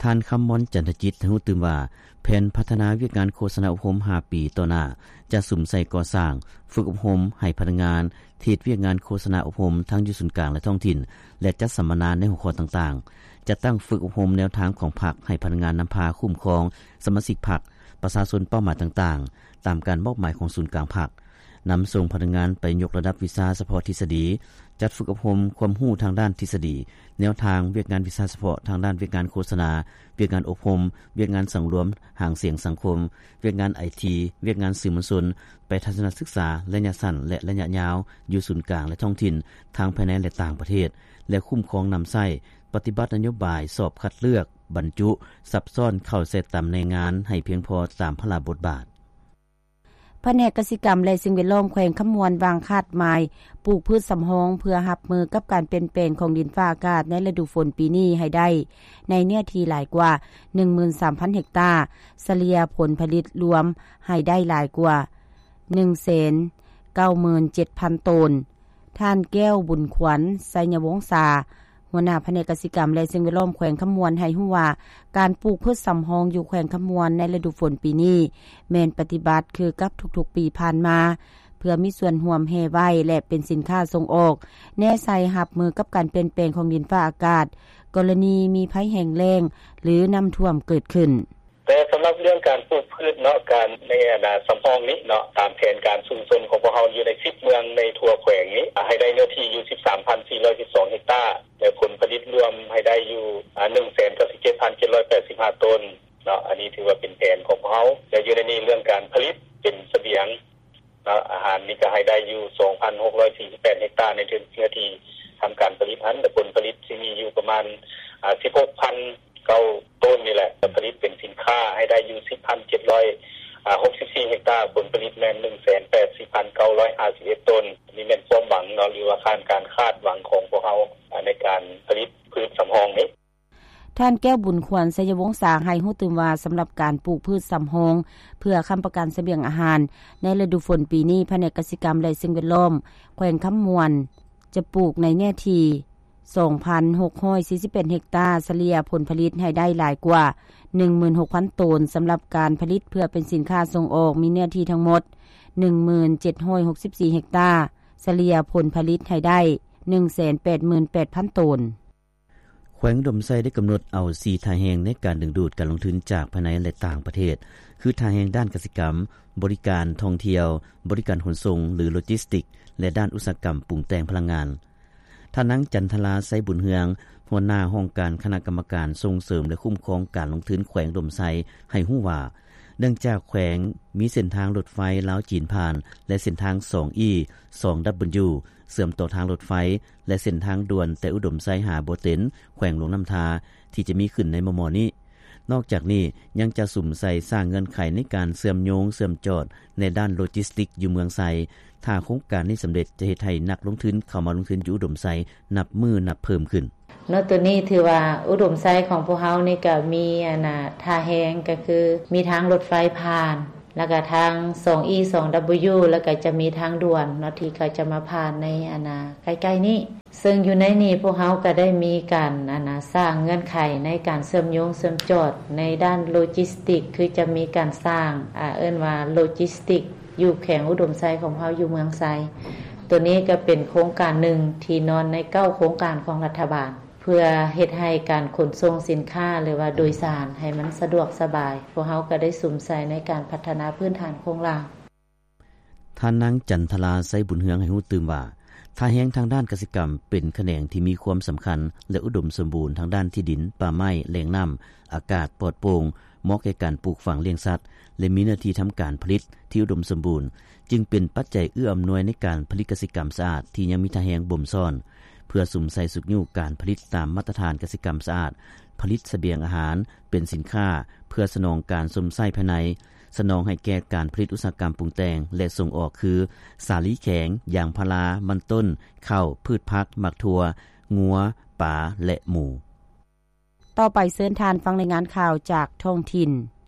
ທ່ານ ຄຳມອນ ຈັນທະຈິດ ໃຫ້ຮູ້ຕື່ມວ່າ, ແຜນພັດທະນາວຽກງານໂຄສະນາອົບຮົມຫ້າປີຕໍ່ໜ້າ ຈະສຸມໃສ່ກໍ່ສ້າງ, ຝຶກອົບຮົມໃຫ້ພະນັກງານ ທີ່ເຮັດວຽກງານໂຄສະນາອົບຮົມທັງຢູ່ສູນກາງ ແລະ ທ້ອງຖິ່ນ ແລະ ຈັດສຳມະນາໃນຫົວຂໍ້ຕ່າງໆ, ຈັດຕັ້ງຝຶກອົບຮົມແນວທາງຂອງພັກໃຫ້ພະນັກງານນຳພາຄຸ້ມຄອງສະມາຊິກພັກ, ປະຊາຊົນເປົ້າໝາຍຕ່າງໆ ຕາມການມອບໝາຍຂອງສູນກາງພັກ, ນຳສົ່ງພະນັກງານໄປຍົກລະດັບວິຊາສະເພາະທິດສະດີ, ຈັດຝຶກອົບຮົມຄວາມຮູ້ທາງດ້ານທິດສະດີ, ແນວທາງວຽກງານວິຊາສະເພາະທາງດ້ານວຽກງານໂຄສະນາ, ວຽກງານອົບຮົມ, ວຽກງານສັງລວມຫາງສຽງສັງຄົມ, ວຽກງານໄອທີ, ວຽກງານສື່ມວນຊົນ, ໄປທັດສະນະສຶກສາໄລຍະສັ້ນ ແລະ ໄລຍະຍາວ ຢູ່ສູນກາງ ແລະ ທ້ອງຖິ່ນ ທັງພາຍໃນ ແລະ ຕ່າງປະເທດ ແລະ ຄຸ້ມຄອງນຳໃຊ້ປະຕິບັດນະໂຍບາຍສອບຄັດເລືອກ, ບັນຈຸ, ສັບຊ້ອນເຂົ້າໃສ່ຕຳແໜ່ງງານໃຫ້ພຽງພໍຕາມພາລະບົດບາດ. ພະແນກກະສິກຳ ແລະ ສິ່ງແວດລ້ອມແຂວງຄຳມ່ວນ ວາງຄາດໝາຍປູກພືດສຳຮອງ ເພື່ອຮັບມືກັບການປ່ຽນແປງຂອງດິນຟ້າອາກາດໃນລະດູຝົນປີນີ້ໃຫ້ໄດ້ ໃນເນື້ອທີ່ຫຼາຍກວ່າ ໜຶ່ງໝື່ນສາມພັນເຮັກຕາ, ສະເລ່ຍຜົນຜະລິດລວມໃຫ້ໄດ້ຫຼາຍກວ່າ ໜຶ່ງແສນເກົ້າໝື່ນເຈັດພັນໂຕນ. ທ່ານ ແກ້ວບຸນຂວັນ ໄຊຍະວົງສາ ຫົວໜ້າພະແນກກະສິກຳ ແລະ ສິ່ງແວດລ້ອມແຂວງຄຳມ່ວນ ໃຫ້ຮູ້ວ່າ ການປູກພືດສຳຮອງຢູ່ແຂວງຄຳມ່ວນໃນລະດູຝົນປີນີ້ ແມ່ນປະຕິບັດຄືກັບທຸກໆປີຜ່ານມາ, ພື່ອມີສ່ວນຮ່ວມແຮ່ໄວ້ ແລະ ເປັນສິນຄ້າສົ່ງອອກ ແນໃສ່ຮັບມືກັບການປ່ຽນແປງຂອງດິນຟ້າອາກາດ ກໍລະນີມີໄພແຫ້ງແລ້ງ ຫຼື ນ້ຳຖ້ວມເກີດຂຶ້ນ. ແຕ່ສຳລັບເລື່ອງການປູກພືດເນາະ ການໃນອັນນາສຳຮອງນີ້ເນາະ ຕາມແຜນການຊຸມຊົນຂອງພວກເຮົາຢູ່ໃນສິບເມືອງໃນທົ່ວແຂວງນີ້ ໃຫ້ໄດ້ເນື້ອທີ່ຢູ່ສິບສາມພັນສີ່ຮ້ອຍສິບສອງເຮັກຕາ ແລະ ຜົນຜະລິດລວມໃຫ້ໄດ້ຢູ່ ອາ ໜຶ່ງແສນເກົ້າສິບເຈັດພັນເຈັດຮ້ອຍແປດສິບຫ້າໂຕນເນາະ. ອັນນີ້ຖືວ່າເປັນແຜນຂອງພວກເຮົາ ແລະ ຢູ່ໃນນີ້ເລື່ອງການຜະລິດເປັນສະບຽງ ເນາະ ອາຫານນີ້ກໍໃຫ້ໄດ້ຢູ່ສອງພັນຫົກຮ້ອຍສີ່ສິບແປດເຮັກຕາ ໃນເນື້ອທີ່ທຳການຜະລິດຫັ້ນ ແລະ ຜົນຜະລິດຊິມີຢູ່ປະມານ ອາ ສິບຫົກພັນເກົ້າໂຕນນີ້ແຫຼະ ຈະຜະລິດເປັນສິນຄ້າໃຫ້ໄດ້ຢູ່ສິບພັນເຈັດຮ້ອຍຫົກສິບສີ່ເຮັກຕາ ຜົນຜະລິດແມ່ນໜຶ່ງແສນແປດສິບພັນເກົ້າຮ້ອຍຫ້າສິບເອັດໂຕນ. ນີ້ແມ່ນຄວາມຫວັງເນາະ ຫຼືວ່າຄາດ ການຄາດຫວັງຂອງພວກເຮົາ ອາ ໃນການຜະລິດພືດສຳຮອງນີ້. ທ່ານ ແກ້ວບຸນຄວັນ ໄຊຍະວົງສາ ໃຫ້ຮູ້ຕື່ມວ່າ ສຳລັບການປູກພືດສຳຮອງ ເພື່ອຄ້ຳປະກັນສະບຽງອາຫານ ໃນລະດູຝົນປີນີ້ ພະແນກກະສິກຳ ແລະ ສິ່ງແວດລ້ອມ ແຂວງຄຳມ່ວນ ຈະປູກໃນເນື້ອທີ່ສອງພັນຫົກຮ້ອຍສີ່ສິບແປດເຮັກຕາ ສະເລ່ຍຜົນຜະລິດໃຫ້ໄດ້ຫຼາຍກວ່າໜຶ່ງໝື່ນຫົກພັນໂຕນ. ສຳລັບການຜະລິດເພື່ອເປັນສິນຄ້າສົ່ງອອກ ມີເນື້ອທີ່ທັງໝົດໜຶ່ງໝື່ນເຈັດຮ້ອຍຫົກສິບສີ່ເຮັກຕາ ສະເລ່ຍຜົນຜະລິດໃຫ້ໄດ້ໜຶ່ງແສນແປດໝື່ນແປດພັນໂຕນ. ແຂວງອຸດົມໄຊໄດ້ກຳນົດເອົາສີ່ທ່າແຮງໃນການດຶງດູດການລົງທຶນຈາກພາຍໃນ ແລະ ຕ່າງປະເທດ ຄື ທ່າແຮງດ້ານກະສິກຳ, ບໍລິການທ່ອງທ່ຽວ, ບໍລິການຂົນສົ່ງ ຫຼື ໂລຈິສຕິກ ແລະ ດ້ານອຸດສາຫະກຳປຸງແຕ່ງພະລັງງານ. ທ່ານນາງ ຈັນທະລາ ໄຊບຸນເຮືອງ ຫົວໜ້າຫ້ອງການຄະນະກຳມະການສົ່ງເສີມ ແລະ ຄຸ້ມຄອງການລົງທຶນແຂວງອຸດົມໄຊ ໃຫ້ຮູ້ວ່າ ເນື່ອງຈາກແຂວງມີເສັ້ນທາງລົດໄຟລາວ-ຈີນຜ່ານ ແລະ ເສັ້ນທາງສອງອີ ສອງດັບເບິນຢູ ເຊື່ອມຕໍ່ທາງລົດໄຟ ແລະ ເສັ້ນທາງດ່ວນແຕ່ອຸດົມໄຊຫາບໍ່ເຕັນ ແຂວງຫຼວງນ້ຳທາ ທີ່ຈະມີຂຶ້ນໃນມໍ່ໆນີ້. ນອກຈາກນີ້ ຍັງຈະສຸມໃສ່ສ້າງເງື່ອນໄຂໃນການເຊື່ອມໂຍງເຊື່ອມຈອດໃນດ້ານໂລຈິສຕິກຢູ່ເມືອງໄຊ. ຖ້າໂຄງການນີ້ສຳເລັດ ຈະເຮັດໃຫ້ນັກລົງທຶນເຂົ້າມາລົງທຶນຢູ່ອຸດົມໄຊນັບມື້ນັບເພີ່ມຂຶ້ນ. ເນາະ ໂຕນີ້ຖືວ່າອຸດົມໄຊຂອງພວກເຮົານີ້ກະມີອັນນາທ່າແຮງ ກະຄືມີທາງລົດໄຟຜ່ານ ແລ້ວກະທາງສອງອີ ສອງດັບເບິນຢູ ແລ້ວກະຈະມີທາງດ່ວນເນາະ ທີ່ເຂົາຈະມາຜ່ານໃນອັນນາໃກ້ໆນີ້. ເຊິ່ງຢູ່ໃນນີ້ພວກເຮົາກະໄດ້ມີການອັນນາສ້າງເງື່ອນໄຂໃນການເຊື່ອມໂຍງເຊື່ອມຈອດໃນດ້ານໂລຈິສຕິກ ຄືຈະມີການສ້າງ ອາ ເອີ້ນວ່າໂລຈິສຕິກ ຢູ່ແຂວງອຸດົມໄຊຂອງເຮົາຢູ່ເມືອງໄຊ. ໂຕນີ້ກະເປັນໂຄງການໜຶ່ງທີ່ນອນໃນເກົ້າໂຄງການຂອງລັດຖະບານ ເພື່ອເຮັດໃຫ້ການຂົນສົ່ງສິນຄ້າ ຫຼືວ່າໂດຍສານໃຫ້ມັນສະດວກສະບາຍ. ພວກເຮົາກະໄດ້ສຸມໃສ່ໃນການພັດທະນາພື້ນຖານໂຄງລ່າງ. ທ່ານນາງ ຈັນທະລາ ໄຊບຸນເຮືອງ ໃຫ້ຮູ້ຕື່ມວ່າ ທ່າແຮງທາງດ້ານກະສິກຳເປັນຂະແໜງທີ່ມີຄວາມສຳຄັນ ແລະ ອຸດົມສົມບູນທາງດ້ານທີ່ດິນ, ປ່າໄມ້, ແຫຼ່ງນ້ຳ, ອາກາດປອດໂປ່ງ, ເໝາະແກ່ການປູກຝັງລ້ຽງສັດ ແລະ ມີເນື້ອທີ່ທຳການຜະລິດທີ່ອຸດົມສົມບູນ ຈຶ່ງເປັນປັດໄຈເອື້ອອຳນວຍໃນການຜະລິດກະສິກຳສະອາດທີ່ຍັງມີທ່າແຮງບົ່ມຊ້ອນ ເພື່ອສຸມໃສ່ຊຸກຍູ້ການຜະລິດຕາມມາດຕະຖານກະສິກຳສະອາດ, ຜະລິດສະບຽງອາຫານເປັນສິນຄ້າ ເພື່ອສະໜອງການຊົມໃຊ້ພາຍໃນ, ສະໜອງໃຫ້ແກ່ການຜະລິດອຸດສາຫະກຳປຸງແຕ່ງ ແລະ ສົ່ງອອກ ຄື ສາລີແຂງ, ຢາງພາລາ, ມັນຕົ້ນ, ເຂົ້າ, ພືດຜັກ, ໝາກຖົ່ວ, ງົວ, ປາ ແລະ ໝູ. ຕໍ່ໄປເຊີນທ່ານຟັງລາຍງານຂ່າວຈາກທ້ອງຖິ່ນ.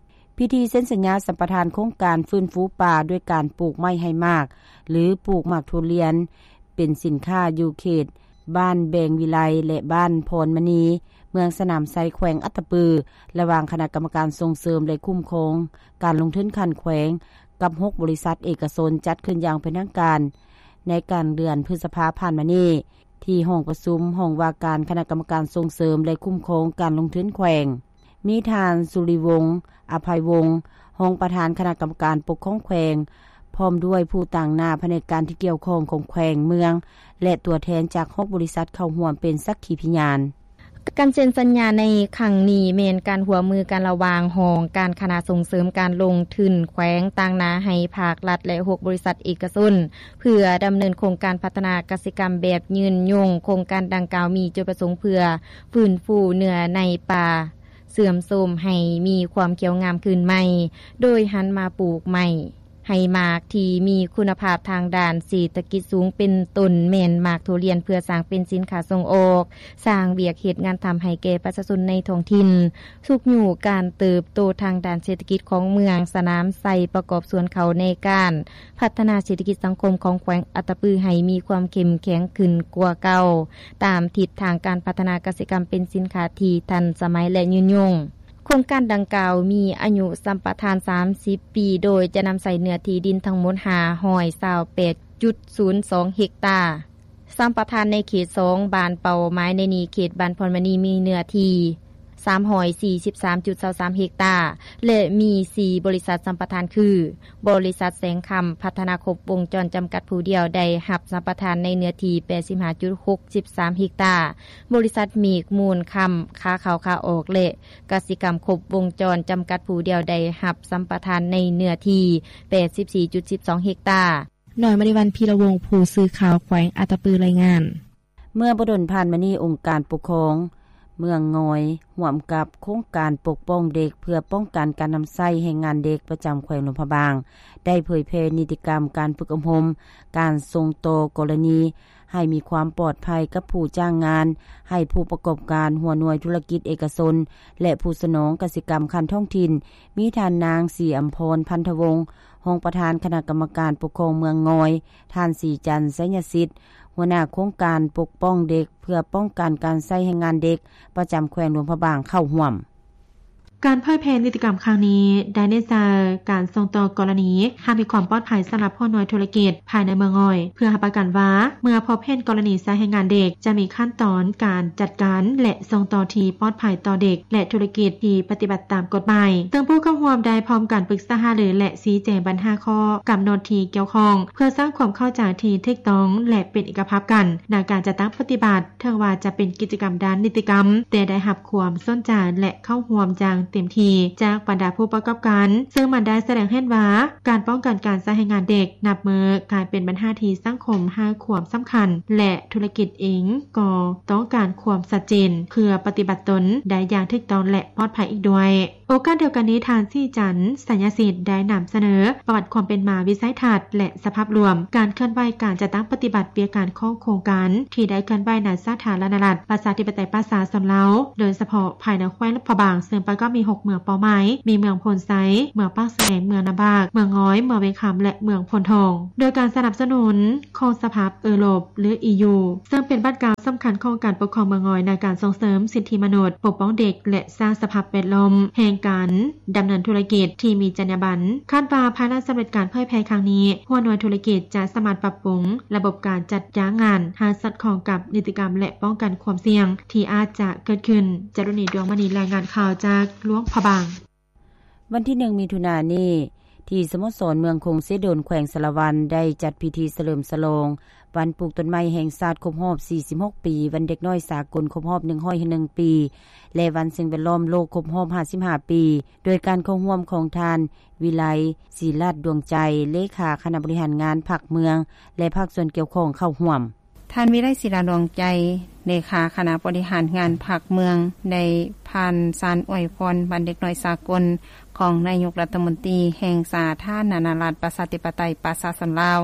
ພິທີເຊັນສັນຍາສຳປະທານໂຄງການຟື້ນຟູປ່າດ້ວຍການປູກໄມ້ໃຫ້ໝາກ ຫຼື ປູກໝາກທຸລຽນ ເປັນສິນຄ້າຢູ່ເຂດບ້ານແບງວິໄລ ແລະ ບ້ານພອນມະນີ ເມືອງສະໜາມໄຊ ແຂວງອັດຕະປື ລະຫວ່າງຄະນະກຳມະການສົ່ງເສີມ ແລະ ຄຸ້ມຄອງການລົງທຶນຂັ້ນແຂວງ ກັບຫົກບໍລິສັດເອກະຊົນ ຈັດຂຶ້ນຢ່າງເປັນທາງການໃນກາງເດືອນພຶດສະພາຜ່ານມານີ້ ທີ່ຫ້ອງປະຊຸມຫ້ອງວ່າການຄະນະກຳມະການສົ່ງເສີມ ແລະ ຄຸ້ມຄອງການລົງທຶນແຂວງ, ມີທ່ານ ສຸລິວົງ ອະໄພວົງ ຮອງປະທານຄະນະກຳມະການປົກຄອງແຂວງ ພ້ອມດ້ວຍຜູ້ຕາງໜ້າພະແນກການທີ່ກ່ຽວຂ້ອງຂອງແຂວງ, ເມືອງ ແລະ ຕົວແທນຈາກຫົກບໍລິສັດເຂົ້າຮ່ວມເປັນສັກຂີພະຍານ. ການເຊັນສັນຍາໃນຄັ້ງນີ້ແມ່ນການຮ່ວມມືກັນລະຫວ່າງຫ້ອງການຄະນະສົ່ງເສີມການລົງທຶນແຂວງ ຕາງໜ້າໃຫ້ພາກລັດ ແລະ ຫົກບໍລິສັດເອກະຊົນ ເພື່ອດຳເນີນໂຄງການພັດທະນາກະສິກຳແບບຍືນຍົງ. ໂຄງການດັ່ງກ່າວມີຈຸດປະສົງເພື່ອຟື້ນຟູເນື້ອໃນປ່າເສື່ອມໂຊມໃຫ້ມີຄວາມຂຽວງາມຄືນໃໝ່ ໂດຍຫັນມາປູກໄມ້ໃຫ້ໝາກທີ່ມີຄຸນນະພາບທາງດ້ານເສດຖະກິດສູງ ເປັນຕົ້ນແມ່ນໝາກທຸລຽນ ເພື່ອສ້າງເປັນສິນຄ້າສົ່ງອອກ, ສ້າງວຽກເຮັດງານທຳໃຫ້ແກ່ປະຊາຊົນໃນທ້ອງຖິ່ນ. ຊຸກຍູ້ການເຕີບໂຕທາງດ້ານເສດຖະກິດຂອງເມືອງສະໜາມໄຊ ປະກອບສ່ວນເຂົ້າໃນການພັດທະນາເສດຖະກິດສັງຄົມຂອງແຂວງອັດຕະປືໃຫ້ມີຄວາມເຂັ້ມແຂງຂຶ້ນກວ່າເກົ່າ, ຕາມທິດທາງການພັດທະນາກະສິກຳເປັນສິນຄ້າທີ່ທັນສະໄໝ ແລະ ຍືນຍົງ. ໂຄງການດັ່ງກ່າວມີອາຍຸສຳປະທານສາມສິບປີ ໂດຍຈະນຳໃຊ້ເນື້ອທີ່ດິນທັງໝົດຫ້າຮ້ອຍຊາວແປດຈຸດສູນສອງເຮັກຕາ. ສຳປະທານໃນເຂດສອງ ບ້ານເປົ້າໝາຍໃນນີ້ ເຂດບ້ານພອນມະນີ ມີເນື້ອທີ່ສາມຮ້ອຍສີ່ສິບສາມຈຸດຊາວສາມເຮັກຕາ ແລະ ມີສີ່ບໍລິສັດສຳປະທານຄື ບໍລິສັດແສງຄຳພັດທະນາຄົບວົງຈອນຈຳກັດຜູ້ດຽວ ໄດ້ຮັບສຳປະທານໃນເນື້ອທີ່ແປດສິບຫ້າຈຸດຫົກສິບສາມເຮັກຕາ, ບໍລິສັດເມກມູນຄຳ ຂາເຂົ້າຂາອອກ ແລະ ກະສິກຳຄົບວົງຈອນຈຳກັດຜູ້ດຽວ ໄດ້ຮັບສຳປະທານໃນເນື້ອທີ່ແປດສິບສີ່ຈຸດສິບສອງເຮັກຕາ. ນ້ອຍມະນີວັນ ພີລະວົງ ຜູ້ສື່ຂ່າວແຂວງອັດຕະປື ລາຍງານ. ເມື່ອບໍ່ດົນຜ່ານມານີ້ ອົງການປົກຄອງເມືອງງອຍ ຮ່ວມກັບໂຄງການປົກປ້ອງເດັກ ເພື່ອປ້ອງກັນການນຳໃຊ້ແຮງງານເດັກ ປະຈຳແຂວງຫຼວງພະບາງ ໄດ້ເຜີຍແຜ່ນິຕິກຳການຝຶກອົບຮົມ ການສົ່ງຕໍ່ກໍລະນີ ໃຫ້ມີຄວາມປອດໄພກັບຜູ້ຈ້າງງານ, ໃຫ້ຜູ້ປະກອບການ, ຫົວໜ່ວຍທຸລະກິດເອກະຊົນ ແລະ ຜູ້ສະໜອງກະສິກຳຂັ້ນທ້ອງຖິ່ນ ມີທ່ານນາງ ສີອຳພອນ ພັນທະວົງ ຮອງປະທານຄະນະກຳມະການປົກຄອງເມືອງງອຍ, ທ່ານ ສີຈັນ ໄຊຍະສິດ ຫົວໜ້າໂຄງການປົກປ້ອງເດັກ ເພື່ອປ້ອງກັນການໃຊ້ແຮງງານເດັກ ປະຈຳແຂວງຫຼວງພະບາງ ເຂົ້າຮ່ວມ. ການເຜີຍແຜ່ນິຕິກຳຄັ້ງນີ້ ໄດ້ເນັ້ນໃສ່ການສົ່ງຕໍ່ກໍລະນີ ຫາກມີຄວາມປອດໄພສຳລັບຫົວໜ່ວຍທຸລະກິດພາຍໃນເມືອງງອຍ ເພື່ອຮັບປະກັນວ່າ ເມື່ອພົບເຫັນກໍລະນີໃຊ້ແຮງງານເດັກ ຈະມີຂັ້ນຕອນການຈັດການ ແລະ ສົ່ງຕໍ່ທີ່ປອດໄພຕໍ່ເດັກ ແລະ ທຸລະກິດທີ່ປະຕິບັດຕາມກົດໝາຍ. ເຊິ່ງຜູ້ເຂົ້າຮ່ວມໄດ້ພ້ອມກັນປຶກສາຫາລື ແລະ ຊີ້ແຈງບັນຫາຂໍ້ກຳນົດທີ່ກ່ຽວຂ້ອງ ເພື່ອສ້າງຄວາມເຂົ້າໃຈທີ່ຖືກຕ້ອງ ແລະ ເປັນເອກະພາບກັນ ໃນການຈັດຕັ້ງປະຕິບັດ. ເຖິງວ່າຈະເປັນກິດຈະກຳດ້ານນິຕິກຳ, ແຕ່ໄດ້ຮັບຄວາມສົນໃຈ ແລະ ເຂົ້າຮ່ວມຢ່າງເຕັມທີ່ຈາກບັນດາຜູ້ປະກອບການ, ເຊິ່ງມັນໄດ້ສະແດງໃຫ້ເຫັນວ່າ ການປ້ອງກັນການໃຊ້ແຮງງານເດັກ ນັບມື້ກາຍເປັນບັນຫາທີ່ສັງຄົມໃຫ້ຄວາມສຳຄັນ ແລະ ທຸລະກິດເອງກໍຕ້ອງການຄວາມຊັດເຈນ ເພື່ອປະຕິບັດຕົນໄດ້ຢ່າງຖືກຕ້ອງ ແລະ ປອດໄພອີກດ້ວຍ. ໂອກາດດຽວກັນນີ້, ທ່ານ ສີຈັນ ໄຊຍະສິດ ໄດ້ນຳສະເໜີປະຫວັດຄວາມເປັນມາ, ວິໄສທັດ ແລະ ສະພາບລວມການເຄື່ອນໄຫວການຈັດຕັ້ງປະຕິບັດວຽກງານຂອງໂຄງການທີ່ໄດ້ເຄື່ອນໄຫວໃນສາທາລະນະລັດ ປະຊາທິປະໄຕ ປະຊາຊົນລາວ, ໂດຍສະເພາະພາຍໃນແຂວງຫຼວງພະບາງ, ເຊິ່ງປະກອບມີຫົກເມືອງເປົ້າໝາຍ, ມີເມືອງໂພນໄຊ, ເມືອງປາກແຊງ, ເມືອງນ້ຳບາກ, ເມືອງງອຍ, ເມືອງວຽງຄຳ ແລະ ເມືອງໂພນທອງ, ໂດຍການສະໜັບສະໜູນຂອງສະພາເອີຣົບ ຫຼື ອີຢູ ເຊິ່ງເປັນບາດກ້າວສຳຄັນຂອງການປົກຄອງເມືອງງອຍໃນການສົ່ງເສີມສິດທິມະນຸດ, ປົກປ້ອງເດັກ ແລະ ສ້າງສະພາບແວດລ້ອມແຫ່ງການດຳເນີນທຸລະກິດທີ່ມີຈັນຍາບັນ. ຄາດວ່າພາຍຫຼັງສຳເລັດການເຜີຍແຜ່ຄັ້ງນີ້, ຫົວໜ່ວຍທຸລະກິດຈະສາມາດປັບປຸງລະບົບການຈັດຈ້າງງານໃຫ້ສອດຄ່ອງກັບນິຕິກຳ ແລະ ປ້ອງກັນຄວາມສ່ຽງທີ່ອາດຈະເກີດຂຶ້ນ. ຈາລຸນີ ດວງມະນີ ລາຍງານຂ່າວຈາກຫຼວງພະບາງ. ວັນທີໜຶ່ງ ມິຖຸນານີ້ ທີ່ສະໂມສອນເມືອງຄົງເຊໂດນ ແຂວງສາລະວັນ ໄດ້ຈັດພິທີສະເຫຼີມສະຫຼອງວັນປູກຕົ້ນໄມ້ແຫ່ງຊາດຄົບຮອບສີ່ສິບຫົກປີ, ວັນເດັກນ້ອຍສາກົນຄົບຮອບໜຶ່ງຮ້ອຍໜຶ່ງປີ ແລະ ວັນສິ່ງແວດລ້ອມໂລກຄົບຮອບຫ້າສິບຫ້າປີ, ໂດຍການເຂົ້າຮ່ວມຂອງທ່ານ ວິໄລ ສີລາດດວງໃຈ ເລຂາຄະນະບໍລິຫານງານພັກເມືອງ ແລະ ພາກສ່ວນກ່ຽວຂ້ອງເຂົ້າຮ່ວມ. ທ່ານ ວິໄລ ສີລາດວງໃຈ ເລຂາຄະນະບໍລິຫານງານພັກເມືອງ ໄດ້ຜ່ານສານອວຍພອນວັນເດັກນ້ອຍສາກົນຂອງນາຍົກລັດຖະມົນຕີແຫ່ງສາທາລະນະລັດ ປະຊາທິປະໄຕ ປະຊາຊົນລາວ.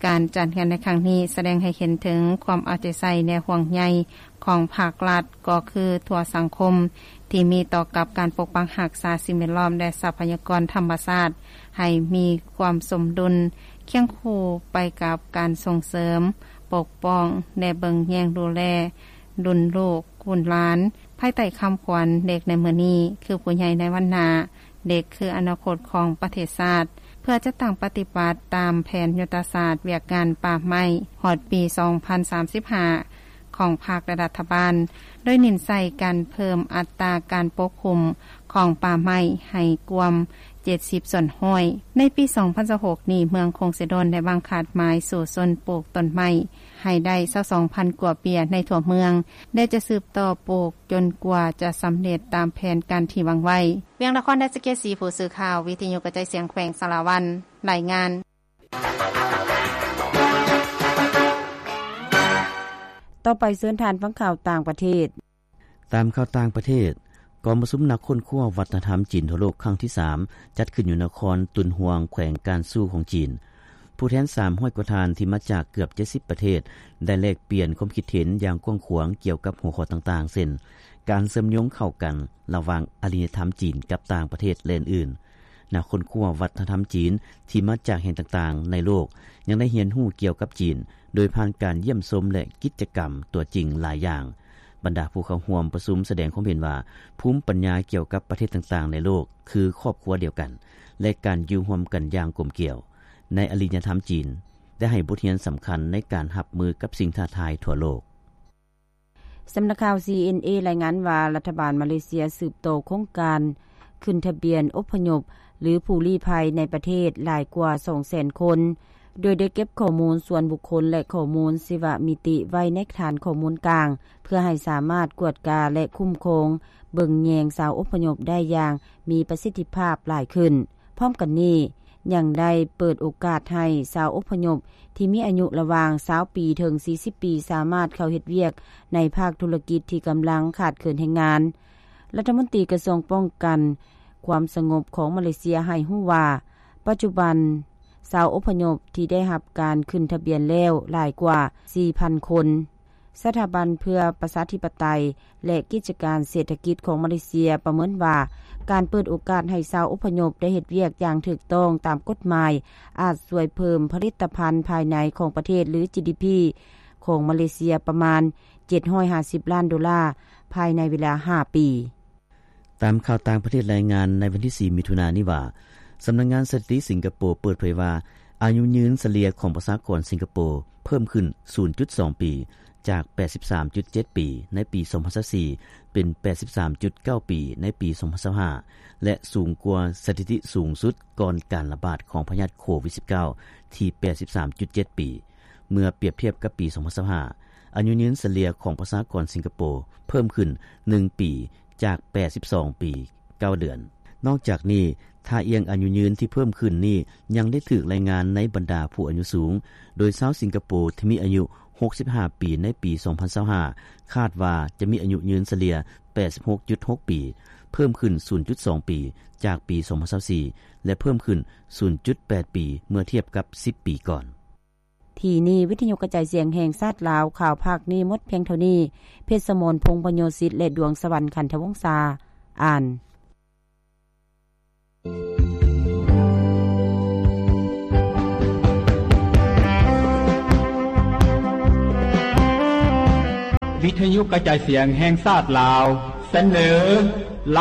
ການຈັດງານໃນຄັ້ງນີ້ສະແດງໃຫ້ເຫັນເຖິງຄວາມເອົາໃຈໃສ່ ແລະ ຫ່ວງໃຍຂອງພາກລັດ ກໍຄືທົ່ວສັງຄົມ ທີ່ມີຕໍ່ກັບການປົກປັກຮັກສາສິ່ງແວດລ້ອມ ແລະ ຊັບພະຍາກອນທຳມະຊາດ ໃຫ້ມີຄວາມສົມດຸນ ຄຽງຄູ່ໄປກັບການສົ່ງເສີມ, ປົກປ້ອງ ແລະ ເບິ່ງແຍງດູແລລຸ້ນລູກ, ລຸ້ນຫຼານ, ພາຍໃຕ້ຄຳຂວັນ ເດັກໃນມື້ນີ້ ຄືຜູ້ໃຫຍ່ໃນວັນໜ້າ, ເດັກຄືອະນາຄົດຂອງປະເທດຊາດ, ເພື່ອຈັດຕັ້ງປະຕິບັດຕາມແຜນຍຸດທະສາດວຽກງານປ່າໄມ້ ຮອດປີສອງພັນສາມສິບຫ້າ ຂອງພັກ ແລະ ລັດຖະບານ, ໂດຍເນັ້ນໃສ່ການເພີ່ມອັດຕາການປົກຄຸມຂອງປ່າໄມ້ໃຫ້ກວມເຈັດສິບສ່ວນຮ້ອຍ. ໃນປີສອງພັນຊາວຫົກນີ້, ເມືອງຄົງເຊໂດນ ໄດ້ວາງຄາດໝາຍສູ້ຊົນປູກຕົ້ນໄມ້ໃຫ້ໄດ້ຊາວສອງພັນກວ່າເບຍໃນທົ່ວເມືອງ ແລະ ຈະສືບຕໍ່ປູກຈົນກວ່າຈະສຳເລັດຕາມແຜນການທີ່ວາງໄວ້. ວຽງນະຄອນ ໄດ້ສະເກດສີ ຜູ້ສື່ຂ່າວ ວິທະຍຸກະຈາຍສຽງແຂວງສາລະວັນ ລາຍງານ. ຕໍ່ໄປເຊີນທ່ານຟັງຂ່າວຕ່າງປະເທດ. ຕາມຂ່າວຕ່າງປະເທດ, ກອງປະຊຸມນັກຄົ້ນຄວ້າວັດທະນະທຳຈີນທົ່ວໂລກຄັ້ງທີສາມ ຈັດຂຶ້ນຢູ່ນະຄອນຕຸນຮວງ ແຂວງການຊູຂອງຈີນ. ຜູ້ແທນສາມຮ້ອຍກວ່າທ່ານທີ່ມາຈາກເກືອບເຈັດສິບປະເທດ ໄດ້ແລກປ່ຽນຄວາມຄິດເຫັນຢ່າງກວ້າງຂວາງກ່ຽວກັບຫົວຂໍ້ຕ່າງໆ ເຊັ່ນ ການເຊື່ອມໂຍງເຂົ້າກັນລະຫວ່າງອາລິຍະທຳຈີນກັບຕ່າງປະເທດ ແລະ ອື່ນໆ. ນັກຄົ້ນຄວ້າວັດທະນະທຳຈີນທີ່ມາຈາກແຫ່ງຕ່າງໆໃນໂລກ ຍັງໄດ້ຮຽນຮູ້ກ່ຽວກັບຈີນ ໂດຍຜ່ານການຢ້ຽມຊົມ ແລະ ກິດຈະກຳຕົວຈິງຫຼາຍຢ່າງ. ບັນດາຜູ້ເຂົ້າຮ່ວມປະຊຸມສະແດງຄວາມເຫັນວ່າ ພູມປັນຍາກ່ຽວກັບປະເທດຕ່າງໆໃນໂລກ ຄືຄອບຄົວດຽວກັນ ແລະ ການຢູ່ຮ່ວມກັນຢ່າງກົມກຽວ ໃນອາລິຍະທຳຈີນ ໄດ້ໃຫ້ບົດຮຽນສຳຄັນໃນການຮັບມືກັບສິ່ງທ້າທາຍທົ່ວໂລກ. ສຳນັກຂ່າວ ຊີເອັນເອ ລາຍງານວ່າ ລັດຖະບານມາເລເຊຍສືບຕໍ່ໂຄງການຂຶ້ນທະບຽນອົບພະຍົບ ຫຼື ຜູ້ລີ້ໄພໃນປະເທດຫຼາຍກວ່າສອງແສນຄົນ, ໂດຍໄດ້ເກັບຂໍ້ມູນສ່ວນບຸກຄົນ ແລະ ຂໍ້ມູນຊີວະມິຕິໄວ້ໃນຖານຂໍ້ມູນກາງ ເພື່ອໃຫ້ສາມາດກວດກາ ແລະ ຄຸ້ມຄອງເບິ່ງແຍງຊາວອົບພະຍົບໄດ້ຢ່າງມີປະສິດທິພາບຫຼາຍຂຶ້ນ. ພ້ອມກັນນີ້ ຍັງໄດ້ເປີດໂອກາດໃຫ້ຊາວອົບພະຍົບທີ່ມີອາຍຸລະຫວ່າງຊາວປີເຖິງສີ່ສິບປີ ສາມາດເຂົ້າເຮັດວຽກໃນພາກທຸລະກິດທີ່ກຳລັງຂາດເຂີນແຮງງານ. ລັດຖະມົນຕີກະຊວງປ້ອງກັນຄວາມສະຫງົບຂອງມາເລເຊຍໃຫ້ຮູ້ວ່າ ປັດຈຸບັນຊາວອົບພະຍົບທີ່ໄດ້ຮັບການຂຶ້ນທະບຽນແລ້ວຫຼາຍກວ່າສີ່ພັນຄົນ. ສະຖາບັນເພື່ອປະຊາທິປະໄຕ ແລະ ກິດຈະການເສດຖະກິດຂອງມາເລເຊຍປະເມີນວ່າ ການເປີດໂອກາດໃຫ້ຊາວອົບພະຍົບໄດ້ເຮັດວຽກຢ່າງຖືກຕ້ອງຕາມກົດໝາຍ ອາດຊ່ວຍເພີ່ມຜະລິດຕະພັນພາຍໃນຂອງປະເທດ ຫຼື ຈີດີພີ ຂອງມາເລເຊຍປະມານເຈັດຮ້ອຍຫ້າສິບລ້ານໂດລາ ພາຍໃນເວລາຫ້າປີ. ຕາມຂ່າວຕ່າງປະເທດລາຍງານໃນວັນທີສີ່ ມິຖຸນານີ້ວ່າ ສຳນັກງານສະຖິຕິສິງກະໂປເປີດເຜີຍວ່າ ອາຍຸຍືນສະເລ່ຍຂອງປະຊາກອນສິງກະໂປເພີ່ມຂຶ້ນສູນຈຸດສອງປີ ຈາກແປດສິບສາມຈຸດເຈັດປີໃນປີສອງພັນຊາວສີ່ ເປັນແປດສິບສາມຈຸດເກົ້າປີໃນປີສອງພັນຊາວຫ້າ ແລະ ສູງກວ່າສະຖິຕິສູງສຸດກ່ອນການລະບາດຂອງພະຍາດໂຄວິດສິບເກົ້າ ທີ່ແປດສິບສາມຈຸດເຈັດປີ. ເມື່ອປຽບທຽບກັບປີສອງພັນຊາວຫ້າ ອາຍຸຍືນສະເລ່ຍຂອງປະຊາກອນສິງກະໂປເພີ່ມຂຶ້ນໜຶ່ງປີ ຈາກແປດສິບສອງປີເກົ້າເດືອນ. ນອກຈາກນີ້ ທ່າອ່ຽງອາຍຸຍືນທີ່ເພີ່ມຂຶ້ນນີ້ ຍັງໄດ້ຖືກລາຍງານໃນບັນດາຜູ້ອາຍຸສູງ, ໂດຍຊາວສິງກະໂປທີ່ມີອາຍຸຫົກສິບຫ້າປີໃນປີສອງພັນຊາວຫ້າ ຄາດວ່າຈະມີອາຍຸຍືນສະເລ່ຍແປດສິບຫົກຈຸດຫົກປີ, ເພີ່ມຂຶ້ນສູນຈຸດສອງປີ ຈາກປີສອງພັນຊາວສີ່ ແລະ ເພີ່ມຂຶ້ນສູນຈຸດແປດປີ ເມື່ອທຽບກັບສິບປີກ່ອນ. ທີ່ນີ້ ວິທະຍຸກະຈາຍສຽງແຫ່ງຊາດລາວ ຂ່າວພາກນີ້ໝົດພຽງເທົ່ານີ້. ເພັດສະໝອນ ພົງພະໂຍສິດ ແລະ ດວງສະຫວັນ ຂັນທະວົງສາ ອ່ານ. ວິທະຍຸກະຈາຍສຽງແຫ່ງຊາດລາວ ສະເໜີ ລາ